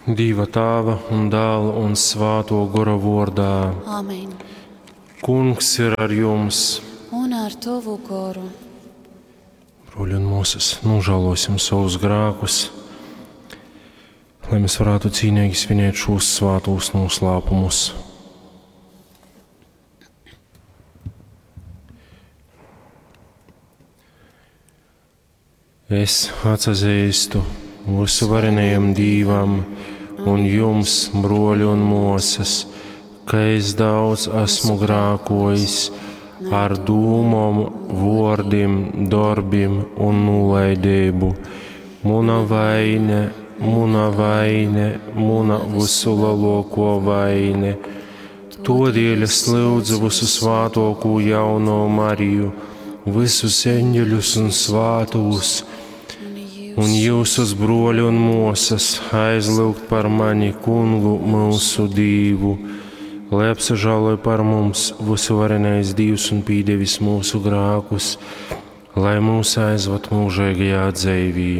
Dīva Tāva un Dāla un Svāto Gora vordā. Amen. Kungs ir ar jums! Un ar tovu goru. Bruoļi un muosas, nožēlosim savus grēkus, lai mēs varētu cīnīgi svinēt šos svātos noslēpumus. Es atsazīstu visu varenajam Dīvam un jums, bruoļi un muosas, ka es daudz esmu grākojis ar dūmom, vuordim, dorbim un nūlaidību. Muna vaine, muna vaine, muna visu lielāko vaine. Todēļ es lūdzu visu svātoko jauno Mariju, visus eņģeļus un svātus, un jūsus bruoļi un muosas aizlūgt par mani kungu mūsu Dīvu, lai apsažāloj par mums visuvarenais Dīvs un pīdevis mūsu grākus, lai mūs aizvad mūžīgajā dzīvī.